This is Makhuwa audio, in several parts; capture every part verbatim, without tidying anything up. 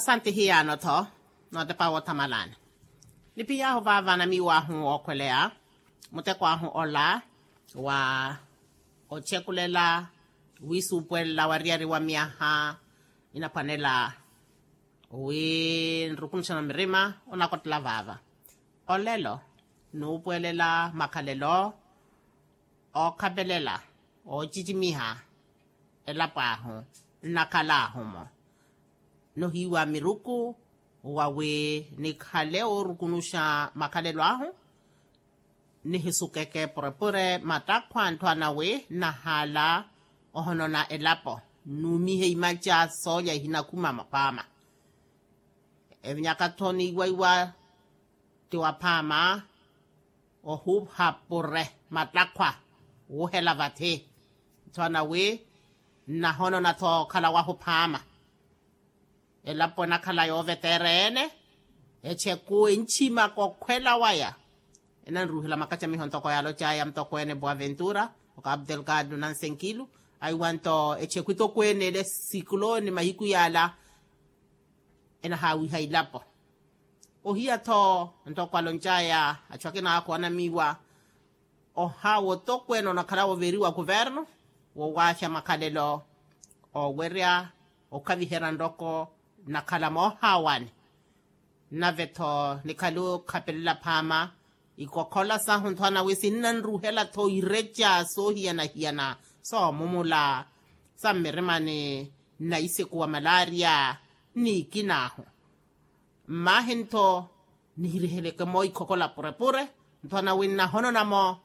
Santi hiyaano-tho nootepa woothamalani. Nipiy'ahu vaava namiiw'ahu wookhweleya muteko ahu ola wa ochekulela wiisuupuwelela wariyari wa myaha inaphwanela wi nrukunuxana mirima. Onakottela vaava olelo nuupuwelela makhalelo ookhapelela oocicimiha elapo ahu nnakhala ahu-mo nohiiwa miruku wawi nikhale oorukunuxa makhalelo ahu. Nihisukeke purepure mattakhwa ntthu anawi nnahaala ohonona elapo nnuumihe imaca soolya ihinakhuma maphaama. Evinyaka-tho niiwaiwa ti waphaama ohuha pure mattakhwa wuhela vathi ntthu anawi nnahonona-tho okhala wahu phaama. Elapo enakhala yooveteera-ene echeku enchimaka okhwela waya. Enanruuhela makacamiho ntoko yaalocaya mutokweene boaventura okapu delgado nansenkilu aiwanto echeku itokweene ele sikuloni mahiku yaala enahaawiha ilapo. Ohiya-tho ntoko aloncaya achu akina akhu anamiiwa ohawa otokweene onakhala wooveriwa kuvernu wowaahya makhalelo oowerya okhaviherya nroko nnakhala moohaawani. Nave-tho nikhale okhapelela phaama ikokhola sahu nthwana wi sinnanruhela-tho ireca soohiyana-hiyana soomumula sa mmirimani nnaisiku wa malaria nniikinaahu. Mmaahi-ntho nihiriheleke-mo ikhokola purepure nthwana wi nnahonona-mo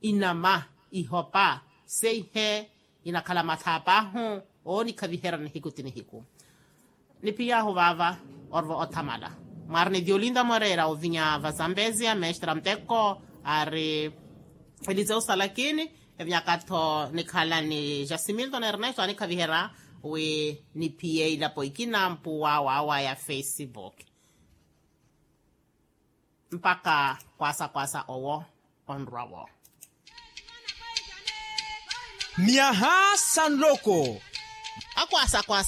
inama ihopa seihe inakhala mathaap'ahu oonikhaviherya nihiku ti nihiku. Nipiy'ahu vaava orvo othamala mwaari ni violinda moreera ovinya vazambezia mestra muteko ari elize osalakini. Evinyaka-tho nikhala ni jasimilton ernesto anikhaviherya wi niphiye ilapo ikina mpuwa wawa ya facebook. Mpakha kwasakwasa owo onrwa-wo. Myaha sa nloko. Akwasakwasa.